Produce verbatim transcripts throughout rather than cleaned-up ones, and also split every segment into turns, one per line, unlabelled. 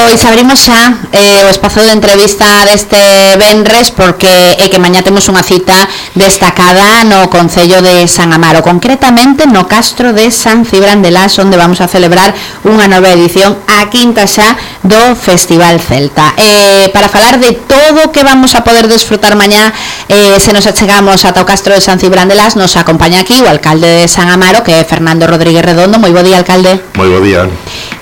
Pois abrimos xa eh, o espazo de entrevista deste venres, porque é que mañá temos unha cita destacada no Concello de San Amaro, concretamente no Castro de San Cibrán de Las, onde vamos a celebrar unha nova edición, a quinta xa do Festival Celta. Eh, para falar de todo o que vamos a poder desfrutar mañá, eh, se nos achegamos ata o Castro de San Cibrán de Las, nos acompaña aquí o alcalde de San Amaro, que é Fernando Rodríguez Redondo. Moi bo día, alcalde.
Moi bo día.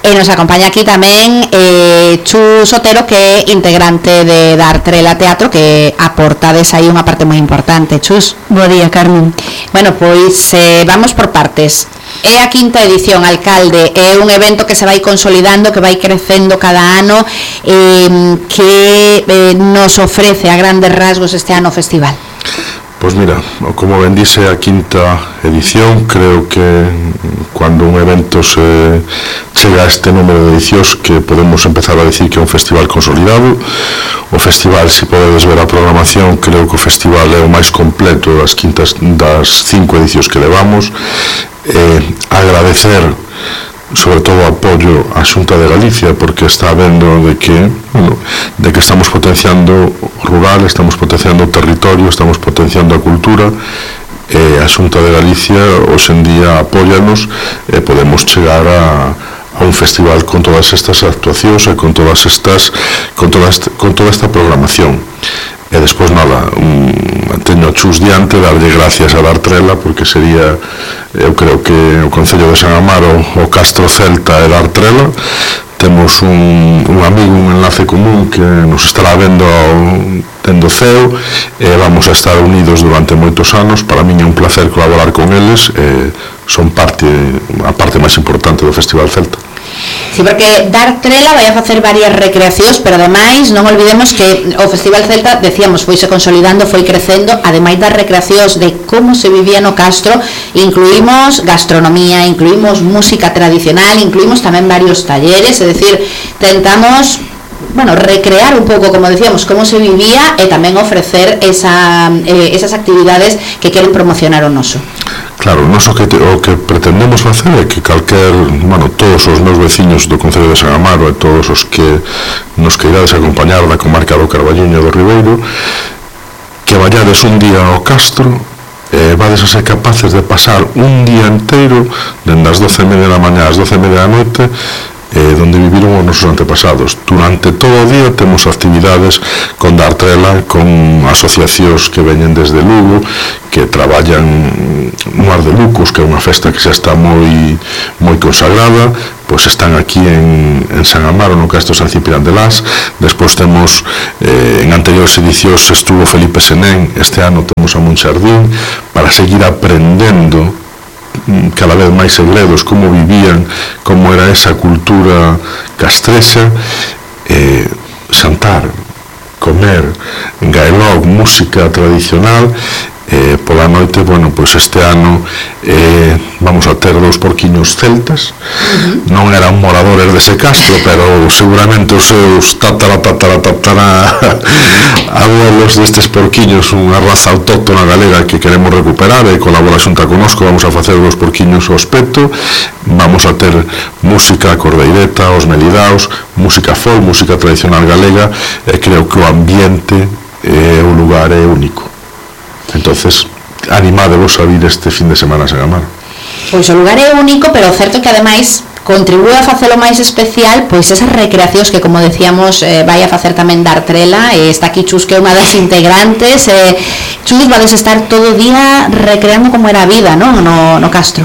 E nos acompaña aquí tamén eh, Chus Otero, que é integrante de Dartrela Teatro, que aportades aí unha parte moi importante. Chus.
Bo día, Carmen.
Bueno, pois eh, vamos por partes. É a quinta edición, alcalde. É un evento que se vai consolidando, que vai crecendo cada ano, eh, que eh, nos ofrece a grandes rasgos este ano o festival.
Pois mira, como ben dice, a quinta edición, creo que cuando un evento se chega a este número de edicións, que podemos empezar a decir que é un festival consolidado. O festival, se podedes ver a programación, creo que o festival é o máis completo das quintas das cinco edicións que levamos. Eh, agradecer sobre todo o apoio á Xunta de Galicia, porque está vendo de que, bueno, de que estamos potenciando o rural, estamos potenciando o territorio, estamos potenciando a cultura, e a Xunta de Galicia hoxe en día apóyanos e podemos chegar a, a un festival con todas estas actuacións e con todas estas con toda esta, con toda esta programación. E despois nada, um, teño a Chus diante, darlle gracias a Dartrela, porque sería, eu creo que o Concello de San Amaro, o Castro Celta e Dartrela, temos un, un amigo, un enlace común que nos estará vendo dendo ceo, e vamos a estar unidos durante moitos anos. Para min é un placer colaborar con eles, e son parte, a parte máis importante do Festival Celta.
Sí, porque Dartrela vai a facer varias recreacións, pero ademais non olvidemos que o Festival Celta, decíamos, foise consolidando, foi crecendo. Ademais das recreacións de como se vivía no Castro, incluímos gastronomía, incluímos música tradicional, incluímos tamén varios talleres, é dicir, tentamos, bueno, recrear un pouco, como decíamos, como se vivía, e tamén ofrecer esa, eh, esas actividades que queren promocionar o noso.
Claro, noso que te, o que pretendemos facer é que calquer, bueno, todos os meus veciños do Concello de San Amaro e todos os que nos queirades acompañar da comarca do Carballiño e do Ribeiro, que vayades un día ao Castro e vades a ser capaces de pasar un día inteiro, dende as doce e media da mañá ás doce e media da noite, eh, donde viviron os nosos antepasados. Durante todo o día temos actividades con Dartrela, con asociacións que veñen desde Lugo, que traballan no Ar de Lucos, que é unha festa que xa está moi moi consagrada, pois están aquí en, en San Amaro, no Castro San Cibrán de Las. Despois temos, eh, en anteriores edicións estuvo Felipe Senén, este ano temos a Monxardín, para seguir aprendendo cada vez máis segredos, como vivían, como era esa cultura castrexa, eh, xantar, comer, gaelog, música tradicional. Eh, pola noite, bueno, pois este ano eh, vamos a ter dous porquiños celtas. Uh-huh. Non eran moradores dese castro, pero seguramente os seus tatara, tatara, tatara abuelos destes porquiños, unha raza autóctona galega que queremos recuperar, e colabora xunta conosco. Vamos a facer dos porquiños ao espeto, vamos a ter música cordeireta, os melidaos, música folk, música tradicional galega, e creo que o ambiente e o lugar é único. Entonces, animádevos a vir este fin de semana a San Amaro.
Pois o lugar é único, pero o certo é que ademais contribúe a facelo máis especial, pois esas recreacións que, como decíamos, eh, vai a facer tamén Dartrela, e está aquí Chus, que é unha das integrantes. eh, Chus, vades estar todo o día recreando como era a vida, non? No, no Castro.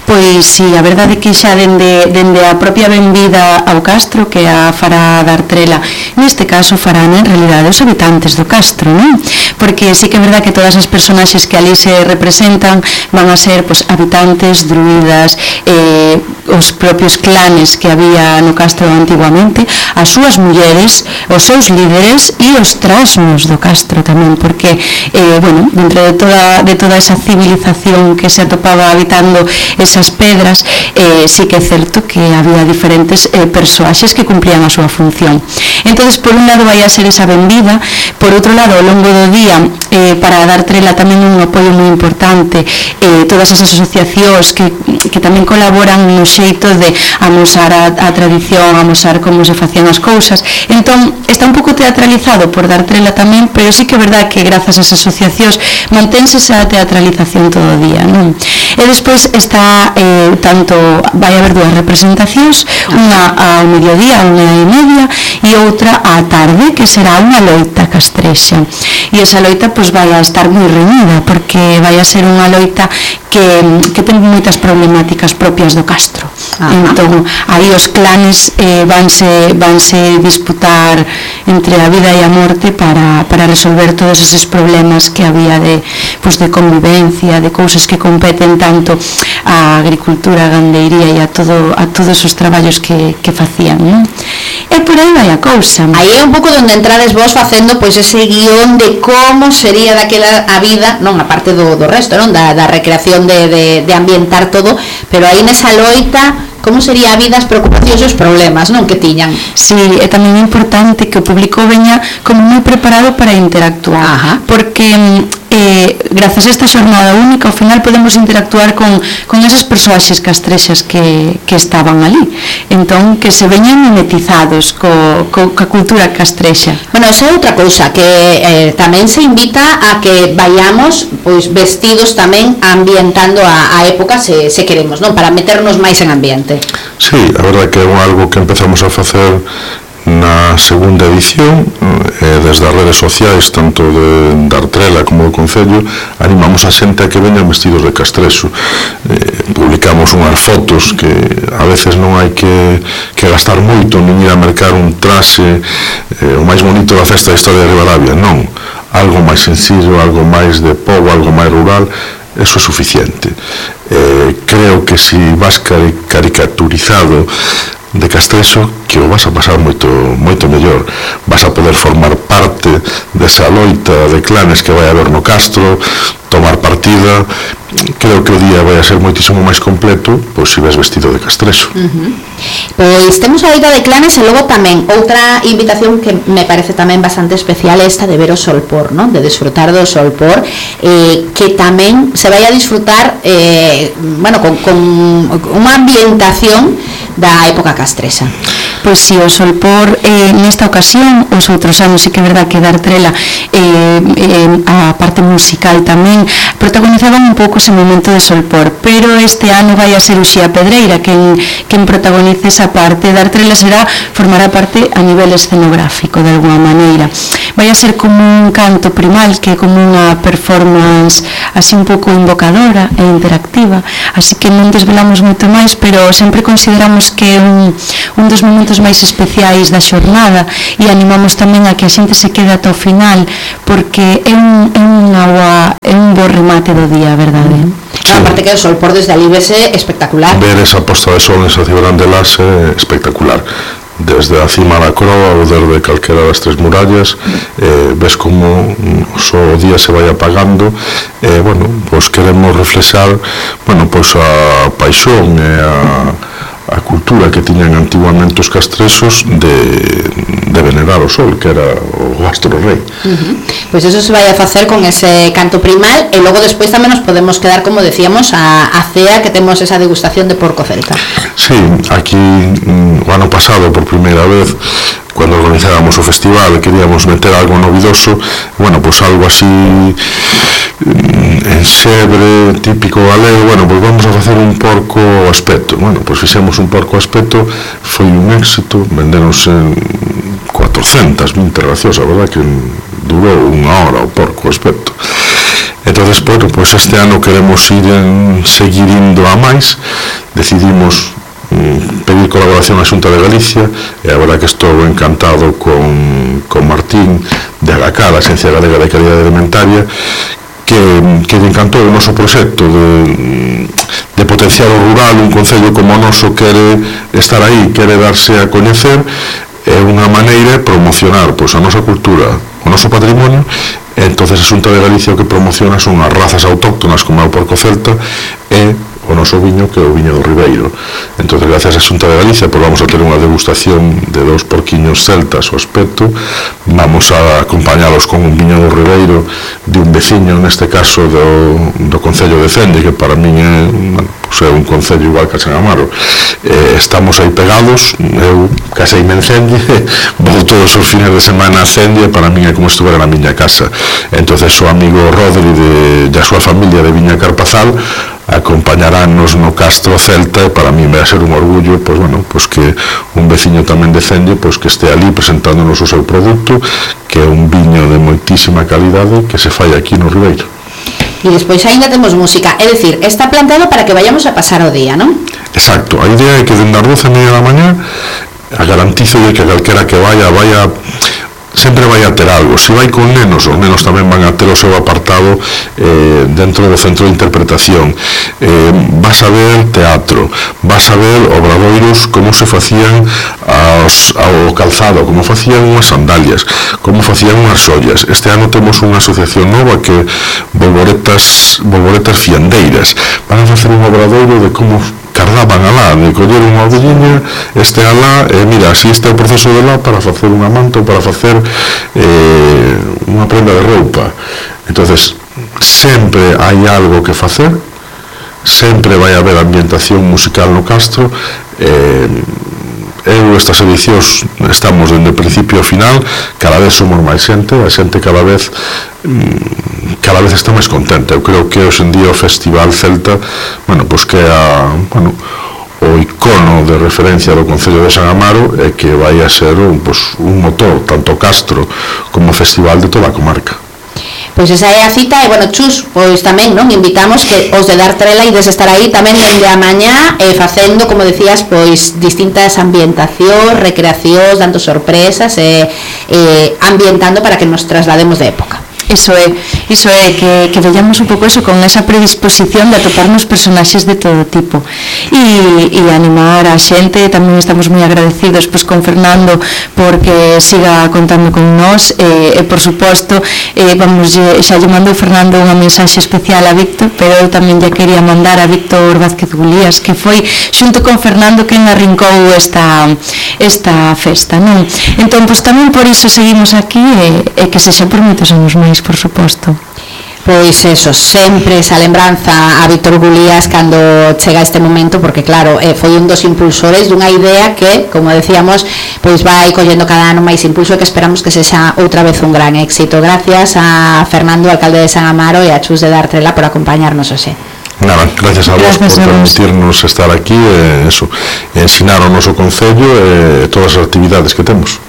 Pois si, sí, a verdade é que xa dende, dende a propia benvida ao Castro, que a fará Dartrela, neste caso farán en realidade os habitantes do Castro, non? Porque sí que é verdade que todas as personaxes que ali se representan van a ser, pois, habitantes, druidas, eh, os propios clanes que había no Castro antiguamente, as súas mulleres, os seus líderes e os trasnos do Castro tamén, porque, eh, bueno, dentro de toda, de toda esa civilización que se atopaba habitando esas pedras, eh, sí que é certo que había diferentes eh, persoaxes que cumplían a súa función. Entonces, por un lado vai a ser esa benvida, por outro lado, ao longo do día, eh, para Dartrela tamén un apoio moi importante, eh, todas esas asociacións que, que tamén colaboran no xeito de de amosar a, a tradición, amosar como se facían as cousas. Entón, está un pouco teatralizado por dar trela tamén, pero sí que é verdad que grazas ás asociacións mantense esa teatralización todo o día, non? E despois está, eh, tanto, vai haber dúas representacións, unha ao mediodía, unha e media, e outra á tarde, que será unha loita castrexa. E esa loita, pois, vai a estar moi reñida, porque vai a ser unha loita que, que ten moitas problemáticas propias do Castro. Ajá. Entón, aí os clanes eh, vanse, vanse disputar entre a vida e a morte para, para resolver todos eses problemas que había de, pues, de convivencia, de cousas que competen tanto a agricultura, a gandeiría e a, todo, a todos os traballos que, que facían, non? E por aí vai a cousa.
Aí é un pouco onde entrades vos facendo pois ese guión de como sería daquela a vida, non a parte do, do resto, non da, da recreación de, de, de ambientar todo, pero aí nesa loita como sería a vida, as preocupacións e os problemas, non, que tiñan.
Sí, é tamén importante que o público veña como moi preparado para interactuar. Ajá. Porque eh, grazas a esta xornada única ao final podemos interactuar con, con esas persoaxes castrexas que, que estaban ali. Entón, que se veñan mimetizados co, co, ca cultura castrexa.
Bueno, esa é outra cousa, que eh, tamén se invita a que vayamos pois vestidos tamén ambientando a, a época se, se queremos, non, para meternos máis en ambiente.
Sí, a verdade que é algo que empezamos a facer na segunda edición, eh, desde as redes sociais, tanto de, de Artrela como do Concello, animamos a xente a que veñan vestidos de castrexo. Eh, publicamos unhas fotos que a veces non hai que, que gastar moito nin ir a mercar un traxe eh, o máis bonito da festa da historia de Ribadavia, non. Algo máis sencillo, algo máis de pobo, algo máis rural, eso é suficiente. Eh, creo que si vas caricaturizado de castrexo, que o vas a pasar moito moito mellor, vas a poder formar parte desa loita de clanes que vai haber no Castro, tomar partida. Creo que o día vai a ser moitísimo máis completo pois se ves vestido de castrexo.
Uh-huh. Pois temos a loita de clanes e logo tamén outra invitación que me parece tamén bastante especial é esta de ver o solpor, non? De disfrutar do solpor, eh, que tamén se vai a disfrutar eh, bueno, con, con unha ambientación da época castrexa.
Pois si, o solpor eh, nesta ocasión, os outros anos sí que é verdad que dar trela eh, eh, a parte musical tamén protagonizaban un pouco ese momento de solpor, pero este ano vai a ser Uxía Pedreira quen, quen protagonice esa parte. Dar trela será, formará parte a nivel escenográfico de alguma maneira. Vai a ser como un canto primal, que é como unha performance así un pouco invocadora e interactiva, así que non desvelamos moito máis, pero sempre consideramos que é un, un dos momentos máis especiais da xornada e animamos tamén a que a xente se quede ata o final, porque é un, é unha boa, é un bo remate do día, verdade?
Sí. No, aparte que o sol por desde ali vese espectacular.
Ver esa posta de sol nesa Cibrán de Las é espectacular. Desde a cima da croa ou desde calquera das tres murallas, eh, ves como o día se vai apagando. Eh, bueno, pois queremos reflexar, bueno, pois a paixón e a a cultura que tiñan antiguamente os castrexos de, de venerar o sol, que era o astro rei.
Uh-huh. Pois eso se vai a facer con ese canto primal e logo despois tamén nos podemos quedar, como decíamos, a, a cea, que temos esa degustación de porco celta.
Sí, aquí o ano pasado por primeira vez, cando organizábamos o festival, queríamos meter algo novidoso, bueno, pois algo así enxebre, típico galego. Bueno, pois vamos a facer un porco aspecto. Bueno, pois fixemos un porco aspecto, foi un éxito, venderonse cuatrocentas vinte racións, a verdad que durou unha hora o porco aspecto. Entonces, bueno, pois este ano queremos ir en, seguir indo a máis. Decidimos pedir colaboración á Xunta de Galicia e a verdad que estou encantado con, con Martín de Agacá, a Axencia Galega de Calidade Alimentaria, que, que lle encantou o noso proxecto de, de potenciar o rural. Un concello como o noso quere estar aí, quere darse a coñecer, é unha maneira de promocionar pois, a nosa cultura, o noso patrimonio. Entonces a Xunta de Galicia o que promociona son as razas autóctonas como é o porco celta e o noso viño, que é o viño do Ribeiro. Entón, gracias á Xunta de Galicia, pois vamos a ter unha degustación de dous porquiños celtas ao aspecto, vamos a acompañalos con un viño do Ribeiro de un veciño, neste caso do, do Concello de Cende, que para min é, bueno, pues é un concello igual que a San Amaro. Eh, estamos aí pegados, eu caseime en Cende, vou todos os fines de semana a Cende, para min é como se estuvera na miña casa. Entonces o amigo Rodri de, de a súa familia de Viña Carpazal acompañarános no Castro Celta, e para mí vai a ser un orgullo, pois, bueno, pois que un veciño tamén de Cende, pois que este ali presentándonos o seu produto, que é un viño de moitísima calidade que se fai aquí no Ribeiro.
E despois ainda temos música, é dicir, está plantado para que vayamos a pasar o día, non?
Exacto, a idea é que dende as doce e media da mañá a garantizo de que calquera que vaya, vaya sempre vai a ter algo. Se vai con nenos, os nenos tamén van a ter o seu apartado eh, dentro do centro de interpretación. Eh, vas a ver teatro, vas a ver obradoiros como se facían aos, ao calzado, como facían unhas sandalias, como facían unhas ollas. Este ano temos unha asociación nova que Bolboretas, Bolboretas Fiandeiras. Van a facer un obradoiro de como cardaban alá, de coller unha ovelliña, este alá, e mira, así está o proceso de lá para facer unha manta ou para facer eh, unha prenda de roupa. Entonces, sempre hai algo que facer, sempre vai haber ambientación musical no Castro. eh, eu estas edicións estamos dende o principio ao final, cada vez somos máis xente, a xente cada vez cada vez está máis contenta. Eu creo que hoxe en día o Festival Celta, bueno, pois que é a, bueno, o icono de referencia do Concello de San Amaro, e que vai a ser un, pois, un motor, tanto Castro como festival de toda a comarca.
Pois esa é a cita, e, bueno, Chus, pois tamén, non, invitamos que os de Dar Trela ides estar aí tamén dende a mañá, eh, facendo, como decías, pois distintas ambientacións, recreacións, dando sorpresas, e eh, eh, ambientando para que nos traslademos de época.
Iso é, iso é que, que vellamos un pouco eso, con esa predisposición de atoparnos personaxes de todo tipo e, e animar a xente. Tamén estamos moi agradecidos pois, con Fernando porque siga contando con nós, e, e por suposto eh, vamos, xa lle mandou Fernando unha mensaxe especial a Víctor, pero eu tamén lle quería mandar a Víctor Vázquez Gulías, que foi xunto con Fernando quen arrincou esta, esta festa, non? Entón, pois tamén por iso seguimos aquí, e, e que sexa por moitos anos máis, por suposto.
Pois eso, sempre esa lembranza a Víctor Gulías cando chega este momento, porque claro, eh, foi un dos impulsores dunha idea que, como decíamos, pois vai collendo cada ano máis impulso, e que esperamos que sexa outra vez un gran éxito. Gracias a Fernando, alcalde de San Amaro, e a Chus de Dar Trela por acompañarnos hoxe.
Nada, gracias a vos por permitirnos estar aquí e, eso, ensinar o noso concello e todas as actividades que temos.